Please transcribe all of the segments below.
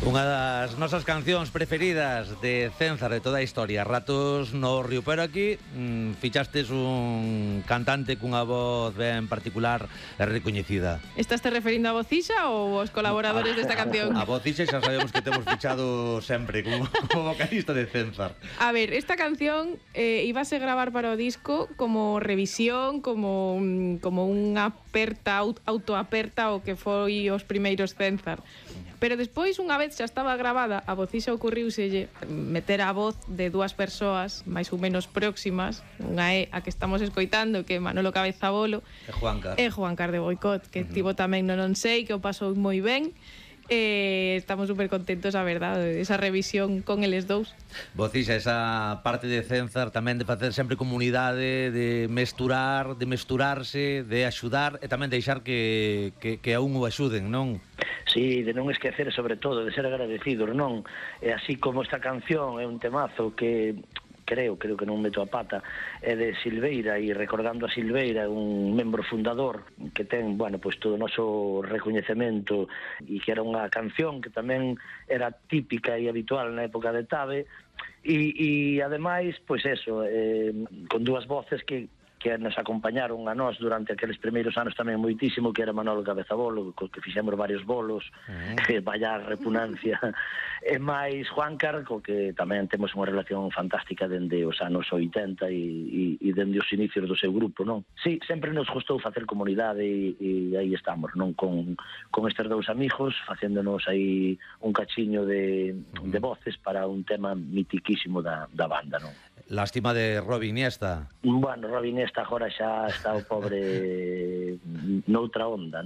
Unha das nosas cancións preferidas de Cénzar de toda a historia, Ratos no Río, pero aquí fichastes un cantante cunha voz ben particular e recoñecida. Estás te referindo a Vocixa ou aos colaboradores desta canción? A Vocixa xa sabemos que temos fichado sempre como vocalista de Cénzar. A ver, esta canción íbase gravar para o disco como revisión, como unha autoaperta ao que foi os primeiros Cénzar. Pero despois, unha vez xa estaba grabada, a Vocixa ocurriuselle meter a voz de dúas persoas máis ou menos próximas. Unha é a que estamos escoitando, que é Manolo Cabezabolo, E Juancar de Boicot, que tivo tamén no Non Sei, que o pasou moi ben. Estamos super contentos, a verdade, esa revisión con eles dous. Vocixa, esa parte de Cénzar tamén de facer sempre comunidade, de mesturar, de mesturarse, de axudar e tamén deixar que a un o axuden, non? Sí, de non esquecer, sobre todo, de ser agradecidos, non? E así como esta canción é un temazo que creo que non meto a pata, é de Silveira, e recordando a Silveira, un membro fundador que ten, bueno, pois todo o noso recoñecemento, e que era unha canción que tamén era típica e habitual na época de Tabe, e ademais, pois eso, con dúas voces que nos acompañaron a nós durante aqueles primeiros anos tamén moitísimo, que era Manolo Cabezabolo, co que fixemos varios bolos, vaya repugnancia, e máis Juancar, co que tamén temos unha relación fantástica dende os anos 80 e dende os inicios do seu grupo, non? Sí, sempre nos gustou facer comunidade e aí estamos, non? Con estes dous amigos, facéndonos aí un cachiño de voces para un tema mitiquísimo da banda, non? Lástima de Robi Iniesta. Bueno, Robi Iniesta agora xa está o pobre noutra onda,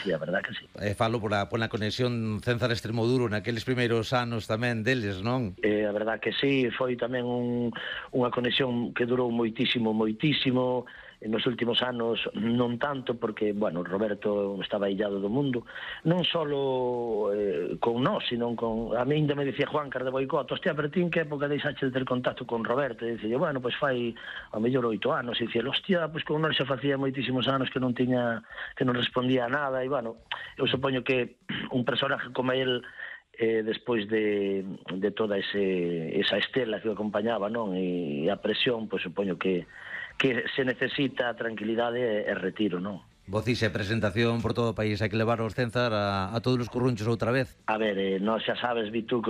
sí, a verdad que sí. Falo pola conexión Cénzar-Extremoduro naqueles primeiros anos tamén deles, non? A verdad que sí, foi tamén unha conexión que durou moitísimo, nos últimos anos non tanto, porque, bueno, Roberto estaba illado do mundo, non só con nós, sino con... A mí ainda me dicía Juancar de Boicot, hostia, pero ti en que época deixaste de ter contacto con Roberto? E dicía, bueno, pois fai ao mellor 8 anos, e dicía, hostia, pois con nós xa facía moitísimos anos que non respondía a nada, e, bueno, eu supoño que un personaje como el, despois de toda esa estela que o acompañaba, non? E a presión, pois supoño que se necesita tranquilidade e retiro, non? Vocixa, presentación por todo o país, hai que levar os Cénzar a todos os currunchos outra vez. A ver, nós xa sabes, Vituco,